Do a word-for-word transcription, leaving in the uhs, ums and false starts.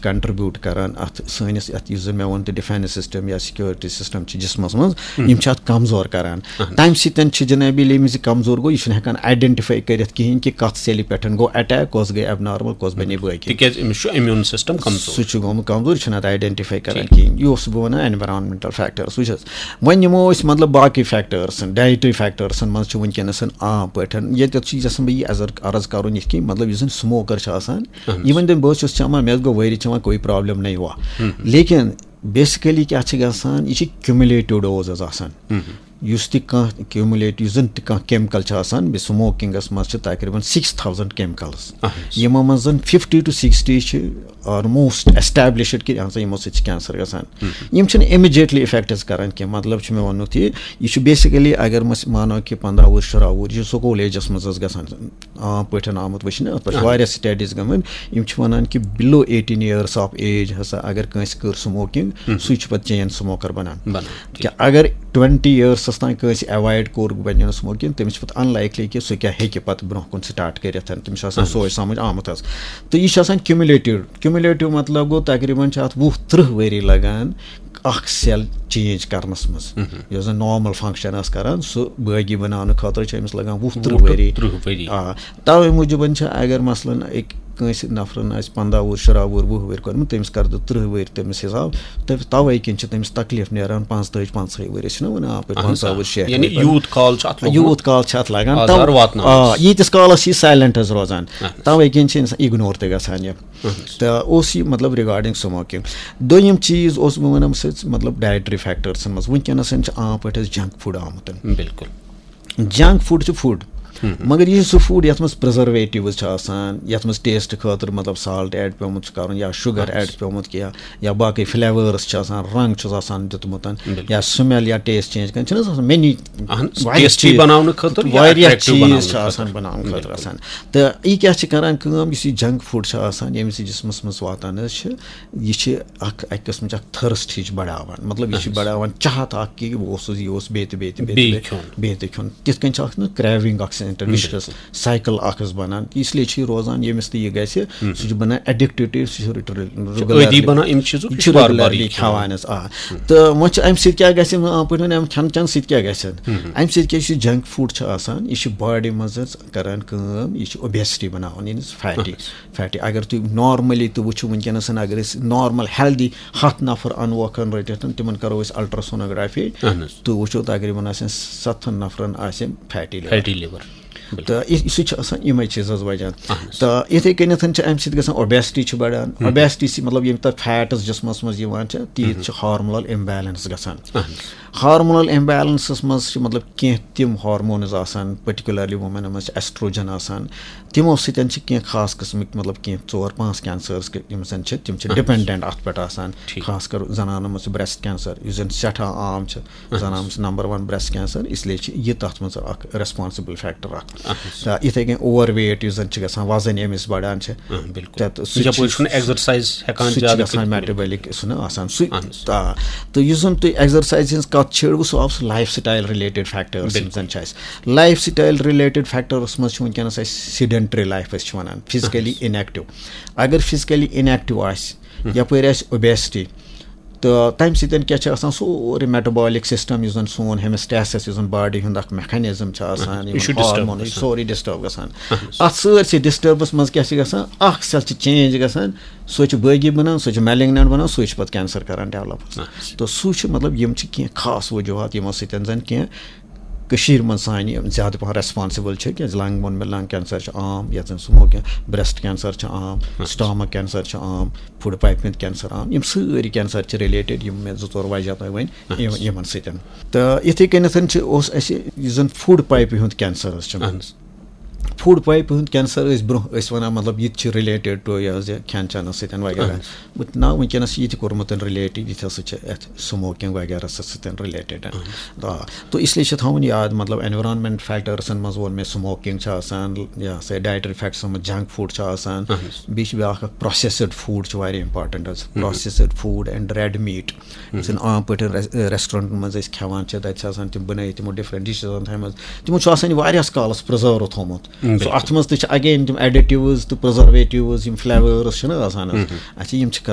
کنٹریبیوٗٹ کران اتھ سٲنِس، یتھ یُس زن مےٚ ووٚن تہِ، ڈیفینس سسٹم یا سیکیورٹی سسٹم چھِ جسمس منٛز، یِم چھِ اتھ کمزور کران۔ تمہِ سۭتۍ چھِ جنابی، ییٚلہِ أمِس یہِ کمزور گوٚو، یہِ چھُنہٕ ہٮ۪کان آیڈنٹیفائی کٔرِتھ کِہیٖنۍ کہِ کتھ سیلہِ پٮ۪ٹھ گوٚو اٹیک، کۄس گٔے ایب نارمل، کۄس بنے بٲقی۔ تِکیازِ أمِس چھُ امیوٗن سسٹم کمزور۔ سُہ چھُ گوٚمُت کمزور، یہِ چھُنہٕ اتھ آیڈنٹیفائی کران کِہیٖنۍ۔ یہِ اوسُس بہٕ ونان، اینوارانمنٹل فیکٹرس وٕچھ حظ۔ وۄنۍ نِمو أسۍ مطلب باقٕے فیکٹرسن، ڈایٹری فیکٹرسن منٛز چھُ وٕنکیٚنس عام پٲٹھۍ، ییٚتٮ۪تھ چھُ یژھان بہٕ یہِ عرض، عرض کرُن یِتھ کٔنۍ، مطلب یُس زن سموکر چھُ آسان، یہِ ؤنۍ تٔمۍ، بہٕ حظ چھُس چٮ۪وان، مےٚ حظ گوٚو ؤری چٮ۪وان، کوئی پرابلم نہیں ہوا۔ لیکن بیسکلی کیٛاہ چھِ گژھان، یہِ چھِ کیومولیٹو ڈوز حظ آسان۔ یُس تہِ کانٛہہ کیومولیٹ، یُس زن تہِ کانٛہہ کیمکل چھُ آسان، بیٚیہِ سموکنگس منٛز چھِ تقریباً سِکِس تھاوزنڈ کیمکلز، یِمو منٛز زن ففٹی ٹو سِکِسٹی چھِ آلموسٹ ایسٹیبلشڈ کہِ ہسا یِمو سۭتۍ چھِ کینسر گژھان۔ یِم چھِنہٕ امیجیٹلی افیکٹس کران کینٛہہ۔ مطلب چھُ مےٚ وَنُن یہِ، یہِ چھُ بیسکلی، اگر أسۍ مانو کہِ پنٛداہ وُہُر، شُراہ وُہُر، یہِ چھُ سکوٗل ایجس منٛز حظ گژھان، عام پٲٹھۍ آمُت وٕچھنہٕ۔ اَتھ پٮ۪ٹھ چھِ واریاہ سٹڈیٖز گٔمٕتۍ، یِم چھِ وَنان کہِ below eighteen years of age ہسا اگر کٲنٛسہِ کٔر سموکنگ، سُے چھُ پَتہٕ چین سموکر بنان۔ کیٛاہ اگر ٹُوَنٹی ایئرسس تام کٲنٛسہِ ایوایڈ کوٚر، بنیو نہٕ سموکنگ، تٔمِس چھِ پَتہٕ انلایکلی کہِ سُہ کیٛاہ ہیٚکہِ پَتہٕ برونٛہہ کُن سٹارٹ کٔرِتھ، تٔمِس چھُ آسان سونچ سمجھ آمُت حظ۔ تہٕ یہِ چھُ آسان کیومولیٹو، کیومولیٹو مطلب گوٚو تقریباً چھِ اَتھ وُہ تٕرٛہ ؤری لگان اکھ سیل چینج کرنس منٛز۔ یۄس زن نارمل فنکشن ٲس کران، سُہ بٲگی بناونہٕ خٲطرٕ چھِ أمِس لگان وُہ تٕرٛہ ؤری۔ تٕرٛہ ؤری۔ آ، توے موٗجوٗبن چھِ، اگر مثلاً أکۍ کٲنٛسہِ نفرن آسہِ پنٛداہ وُہُر، شُراہ وُہُر، وُہ ؤری کوٚرمُت، تٔمِس کر تہٕ تٕرٛہ ؤری تٔمِس حساب۔ تہٕ توے کِنۍ چھِ تٔمِس تکلیف نیران پانٛژھ تٲجۍ، پنٛژاہے ؤری، أسۍ چھِنہ ونان اپٲرۍ پنٛژاہ وُہُر، شیٹھ یعنی ؤری۔ یوٗت کال چھُ اتھ لوٚگمُت۔ یوٗت کال چھِ اتھ لگان۔ آزار تو- واتناونس۔ آ، ییٖتِس کالس چھِ یہِ سایلنٹ حظ روزان، توے کِنۍ چھِ انسان اگنور تہِ گژھان یہِ۔ تہٕ اوس یہِ مطلب ریگارڈنگ سموکنگ۔ دوٚیِم چیٖز اوس بہٕ ونان سۭتۍ مطلب ڈایٹری فیکٹرسن منٛز۔ وٕنکیٚنس چھِ عام پٲٹھۍ اَسہِ جنک فوڈ آمُت۔ بالکل۔ جنک فوڈ چھُ فوڈ، مگر یہِ چھُ سُہ فوڈ یتھ منٛز پرزرویٹیوز چھِ آسان، یتھ منٛز ٹیسٹ خٲطرٕ مطلب سالٹ ایڈ پیومُت چھُ کرُن یا شُگر ایڈ پیومُت کینٛہہ، یا باقٕے فلیورس چھِ آسان، رنگ چھُس آسان دیُتمُت، یا سمیل یا ٹیسٹ چینج کران، چھِنہٕ حظ آسان مینی اہن، واریاہ ٹیسٹی چیٖز۔ بناونہٕ خٲطرٕ یا واریاہ اٹریکٹیو چیٖز بناونہٕ چھِ خٲطرٕ۔ آسان بناونہٕ خٲطرٕ آسان۔ تہٕ یہِ کیٛاہ چھِ کران کٲم، یُس یہِ جنک فوڈ چھُ آسان، ییٚمہِ سۭتۍ جسمس منٛز واتان حظ چھِ، یہِ چھِ اکھ، اکہِ قٕسمٕچ اکھ تھرسٹ ہِش بڑاوان۔ مطلب یہِ چھِ بڑاوان چاہت اکھ کہِ بہٕ اوسُس، یہِ اوس بیٚیہِ تہِ، بیٚیہِ تہِ، بیٚیہِ تہِ، بیٚیہِ بیٚیہِ کھیوٚن۔ بیٚیہِ تہِ کھیوٚن۔ تِتھ کٔنۍ چھِ اکھ نہٕ کریونگ اکھ سینٹر وِشس سایکل اکھ حظ بنان۔ اس لیے چھِ یہِ روزان، ییٚمِس تہِ یہِ گژھِ، سُہ چھُ بنان ایڈکٹیو، سُہ چھُ ریگولر، عٲدی بنان اَمہِ چیٖزُک، یہِ یہِ چھُ چھُ بار بار ریگولرلی یہِ کھٮ۪وان۔ کھٮ۪وان حظ۔ آ، تہٕ وۄنۍ چھِ اَمہِ سۭتۍ کیٛاہ گژھِ؟ عام پٲٹھۍ وَنان، اَمہِ کھٮ۪ن چٮ۪ن سۭتۍ کیٛاہ گژھِ؟ اَمہِ سۭتۍ کیٛاہ چھُ جنک فوڈ چھُ آسان، یہِ چھُ باڈی منٛز حظ کران کٲم، یہِ چھُ اوبیسٹی بناوان، یعنی فیٹی۔ فیٹی۔ اگر تُہۍ نارملی تہِ وٕچھِو وٕنکیٚنَس، اگر أسۍ نارمل ہیلدی ہَتھ نفر اَنوکھ رٔٹِتھ، تِمن کرو أسۍ الٹراسونوگرافی، اہن حظ۔ تُہۍ وٕچھِو تقریباً آسن ستن نفرن آسہِ فیٹی لیور۔ Fatty liver. تہٕ یہِ، سُہ چھُ آسان یِمے چیٖز حظ وجہ۔ تہٕ یِتھے کٔنٮ۪تھ چھِ اَمہِ سۭتۍ گژھان اوبیسٹی چھِ بڑان۔ اوبیسٹی سۭتۍ مطلب یِم تَتھ فیٹس جسمس منٛز یِوان چھِ، تیٖتۍ چھِ ہارمونل امبیلنس گژھان۔ ہارمونل امبیلنسس منٛز چھِ مطلب کینٛہہ تِم ہارمونز آسان، پٔٹِکیوٗلرلی وومینن منٛز چھِ ایسٹروجن آسان، تِمو سۭتۍ چھِ کینٛہہ خاص قٕسمٕکۍ مطلب کینٛہہ ژور پانٛژھ کینسرز یِم زن چھِ، تِم چھِ ڈِپینڈنٹ اتھ پٮ۪ٹھ آسان۔ خاص کر زنانن منٛز چھُ بریسٹ کینسر، یُس زن سٮ۪ٹھاہ عام چھُ۔ زنانن منٛز چھُ نمبر ون بریسٹ کینسر، اس لیے چھِ یہِ تتھ منٛز اکھ ریسپانسبل فیکٹر اکھ۔ تہٕ یِتھے کٔنۍ اوور ویٹ یُس زن چھِ گژھان، وزن ییٚمِس بڑان چھِ، آ، بالکل۔ تہٕ سُہ تہِ یپٲرۍ چھُ، چھُنہٕ ایگزرسایز ہٮ۪کان سُہ تہِ چھُ زیادٕ گژھان کٔرِتھ۔ میٹابولک سُہ نہٕ آسان سُے۔ اہن حظ۔ آ، تہٕ یُس زن تُہۍ ایگزرسایز ہٕنٛز کتھ چھیڑوٕ، سُہ آو سُہ لایف سٹایل رِلیٹڈ فیکٹرس یِم زن چھِ اَسہِ۔ لایف سٹایل رِلیٹڈ فیکٹرس منٛز چھُ وٕنکیٚنس اَسہِ سیڈنٹری لایف أسۍ چھِ ونان، فزیکلی انیکٹو۔ اگر فزیکلی انیکٹو آسہِ، یپٲرۍ آسہِ اوبیسٹی، تہٕ تَمہِ سۭتۍ کیٛاہ چھِ آسان، سورُے میٹابولک سسٹم یُس زن سون ہیمسٹیسس، یُس زن باڈی ہُنٛد اکھ میکانزم چھُ آسان، یہِ چھُ یِمن disturb ہارمون، یہِ گژھان۔ سورُے ڈسٹرب گژھان۔ اتھ سٲرسٕے ڈسٹربس منٛز کیٛاہ چھِ گژھان، اکھ سیل چھِ چینج گژھان، سُہ چھُ بٲگی بنان، سُہ چھُ میلنگنٹ بنان، سُے چھُ پتہٕ کینسر کران ڈیولپ۔ تہٕ سُہ چھُ مطلب یِم چھِ کینٛہہ خاص وجوہات یِمو سۭتۍ زن کینٛہہ کٔشیٖرِ منٛز سانہِ یِم زیادٕ پہن ریسپانسبل چھِ، کیازِ لنگ ووٚن مےٚ، لنگ کینسر چھُ عام، یتھ زن سموکنگ، بریسٹ کینسر چھُ عام، سٹامک کینسر چھُ عام، فوڈ پایپہِ ہُنٛد کینسر عام، یِم سٲری کینسر چھِ رِلیٹڈ، یِم مےٚ زٕ ژور وجہ تۄہہِ ؤنۍ، یِم-، یِمن سۭتۍ۔ تہٕ یِتھے کٔنٮ۪تھ چھِ، اوس اَسہِ یُس زن فوڈ پایپہِ ہُنٛد کینسر حظ چھُ، فوڈ پایپہِ ہُنٛد کینسر ٲسۍ برونٛہہ ٲسۍ ونان، مطلب یہِ تہِ چھِ رِلیٹڈ ٹو یہِ حظ یہِ کھٮ۪ن چٮ۪نس سۭتۍ وغیرہ۔ بہٕ نہ وٕنکیٚنس چھِ یہِ تہِ کوٚرمُت رِلیٹ، یہِ تہِ ہسا چھِ یتھ سموکنگ وغیرہ سۭتۍ رِلیٹڈ۔ آ، تو اس لیے چھِ تھاوُن یاد، مطلب، انویرانمنٹ فیکٹرسن منٛز ووٚن مےٚ، سموکنگ چھِ آسان، یہِ ہسا یہِ ڈایٹری فیکٹرسن منٛز جنک فوڈ چھُ آسان، بیٚیہِ چھِ بیٛاکھ اکھ پروسیسڈ فوڈ چھُ واریاہ امپورٹنٹ حظ، processed food and red meat. یُس زن عام پٲٹھۍ ریس-، ریسٹورنٹن منٛز أسۍ کھٮ۪وان چھِ، تتہِ چھِ آسان تِم بنٲیِتھ تِمو ڈفرنٹ ڈشز تھایمژٕ، تِمو چھُ آسان یہِ واریاہس کالس پرزرو تھوٚومُت۔ سُہ اتھ منٛز تہِ چھِ اگین تِم ایڈیٹیوز تہٕ پرزرویٹیوز، یِم فلیورز چھِنہٕ آسان حظ،